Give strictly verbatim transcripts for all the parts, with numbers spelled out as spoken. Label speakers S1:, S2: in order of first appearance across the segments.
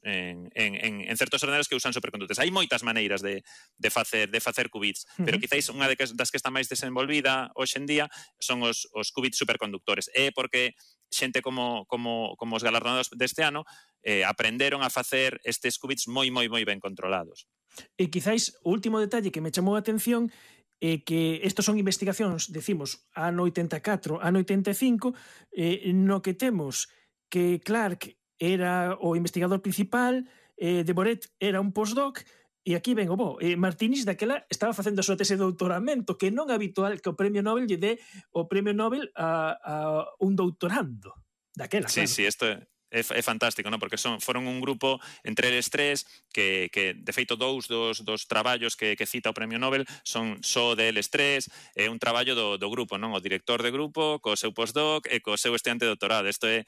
S1: en, en, en certos ordenadores que usan supercondutores. Hai moitas maneiras de, de, facer, de facer qubits, uh-huh. pero quizáis unha de que, das que está máis desenvolvida hoxe en día son os, os qubits superconductores. É porque xente como, como, como os galardonados deste ano eh, aprenderon a facer estes qubits moi, moi, moi ben controlados.
S2: E quizáis o último detalle que me chamou a atención é que estos son investigacións, decimos, ano oitenta e catro, ano oitenta e cinco, eh, no que temos que Clark era o investigador principal, eh, Deboret era un postdoc, e aquí ven o bo. Eh, Martinis daquela estaba facendo a súa tese de doutoramento, que non é habitual que o premio Nobel lle dé o premio Nobel a, a un doutorando. Daquela,
S1: sí,
S2: claro.
S1: Sí, isto é... É, é fantástico, non? Porque son, foron un grupo entre eles tres que, que de feito, dous dos, dos traballos que, que cita o Premio Nobel son só deles tres, é un traballo do, do grupo, non? O director de grupo, co seu postdoc e co seu estudiante de doutorado. Isto é,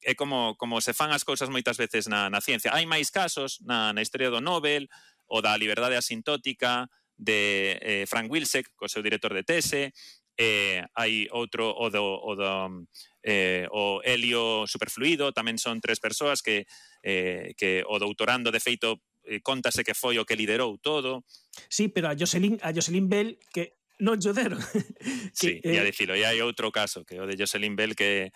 S1: é como, como se fan as cousas moitas veces na, na ciencia. Hai máis casos na, na historia do Nobel, o da liberdade asintótica de eh, Frank Wilczek, co seu director de tese, eh, hai outro, o do... O do Eh, o helio superfluido, tamén son tres persoas que, eh, que o doutorando de feito eh, contase que foi o que liderou todo.
S2: Sí, pero a Jocelyn, a Jocelyn Bell que non lle deron.
S1: Sí, e a dicilo, e hai outro caso que o de Jocelyn Bell que,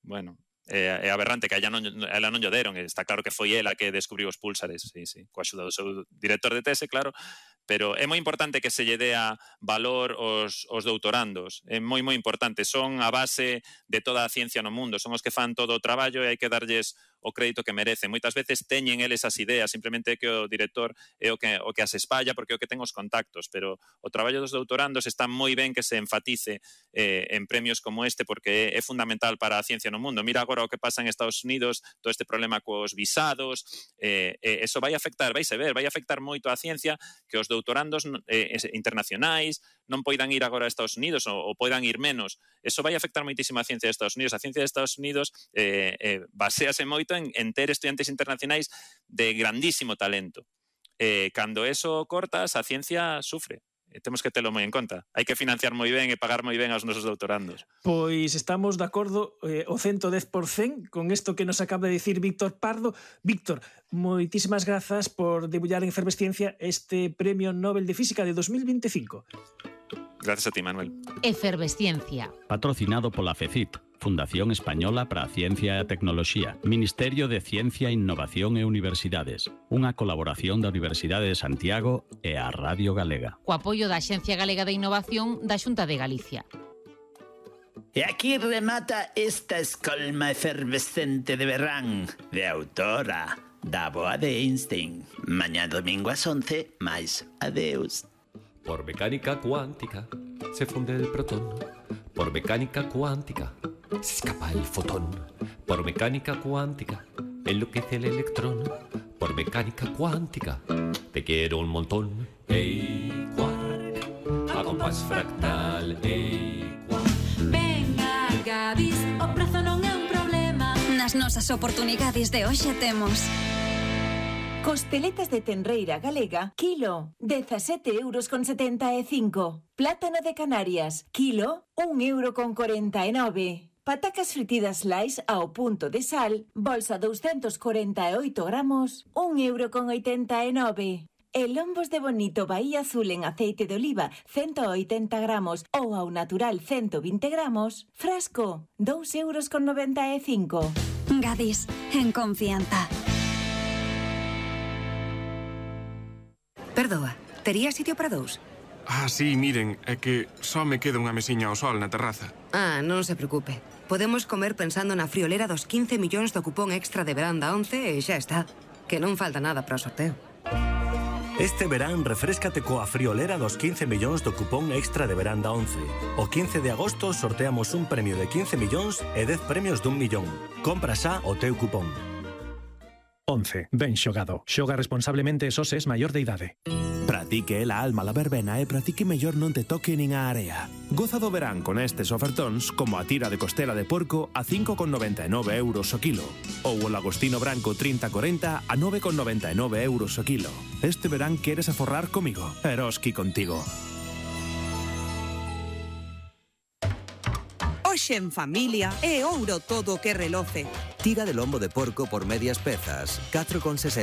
S1: bueno, é, é aberrante que ela non, ela non lle deron, está claro que foi ela que descubriu os púlsares, sí, sí, coa axuda do seu director de tese, claro, pero é moi importante que se lle dea valor aos, aos doutorandos, é moi moi importante, son a base de toda a ciencia no mundo, son os que fan todo o traballo e hai que darlles o crédito que merecen. Moitas veces teñen eles as ideas, simplemente é que o director é o que, o que as espalla porque é o que ten os contactos, pero o traballo dos doutorandos está moi ben que se enfatice eh, en premios como este porque é, é fundamental para a ciencia no mundo. Mira agora o que pasa en Estados Unidos, todo este problema cos visados, eh, eh, eso vai afectar, vais a ver, vai afectar moito a ciencia que os doutorandos eh, internacionais non poidan ir agora a Estados Unidos ou, ou poidan ir menos. Eso vai afectar moitísimo a ciencia de Estados Unidos. A ciencia de Estados Unidos eh, eh, basease moito en, en ter estudiantes internacionais de grandísimo talento. Eh, cando eso cortas, a ciencia sufre. Eh, temos que telo moi en conta. Hai que financiar moi ben e pagar moi ben aos nosos doutorandos.
S2: Pois estamos de acordo eh, o ciento dez por cento con isto que nos acaba de dicir Víctor Pardo. Víctor, moitísimas grazas por debullar en Efervesciencia este Premio Nobel de Física de dos mil veinticinco.
S1: Gracias a ti, Manuel.
S3: Efervesciencia.
S4: Patrocinado pola FECIT, Fundación Española para a Ciencia e a Tecnoloxía, Ministerio de Ciencia, Innovación e Universidades, unha colaboración da Universidade de Santiago e a Radio Galega.
S3: Co apoio da Axencia Galega de Innovación da Xunta de Galicia.
S5: E aquí remata esta escolma efervescente de verán, de autora, da boa de Einstein. Mañá domingo ás once, máis adeus.
S6: Por mecánica cuántica se funde el protón. Por mecánica cuántica se escapa el fotón. Por mecánica cuántica enloquece el electrón. Por mecánica cuántica te quiero un montón. Ey, quark, a compás fractal. Ey, quark.
S7: Venga, Gadis, o prazo non é un problema. Nas nosas oportunidades de hoxe temos costeletas de tenreira galega, kilo, dezasete euros con setenta e cinco. Plátano de Canarias, kilo, un euro con corenta e nove. Patacas fritidas Slice ao punto de sal, bolsa doscientos cuarenta e oito gramos, un euro con oitenta e nove. E lombos de bonito Bahía Azul en aceite de oliva, ciento oitenta gramos, ou ao natural ciento vinte gramos, frasco, dous euros con noventa e cinco. Gadis, en confianza.
S8: Perdoa, tería sitio para dous?
S9: Ah, sí, miren, é que só me queda unha mesiña ao sol na terraza.
S8: Ah, non se preocupe. Podemos comer pensando na friolera dos quince millóns do cupón extra de verán da once e xa está. Que non falta nada para o sorteo.
S10: Este verán refréscate coa friolera dos quince millóns do cupón extra de verán da once. O quince de agosto sorteamos un premio de quince millóns e dez premios dun millón. Compra xa o teu cupón.
S11: once. Ben xogado. Xoga responsablemente e só se es maior de idade.
S12: Pratique la alma la verbena e pratique mellor non te toque nin a area. Goza do verán con estes ofertóns como a tira de costela de porco a cinco con noventa e nove euros o kilo ou o lagostino branco trinta corenta a nove con noventa e nove euros o kilo. Este verán queres aforrar comigo? Eroski contigo.
S13: Hoxe en familia é ouro todo o que reloce.
S14: Tira de lombo de porco por medias pezas, catro con sesenta.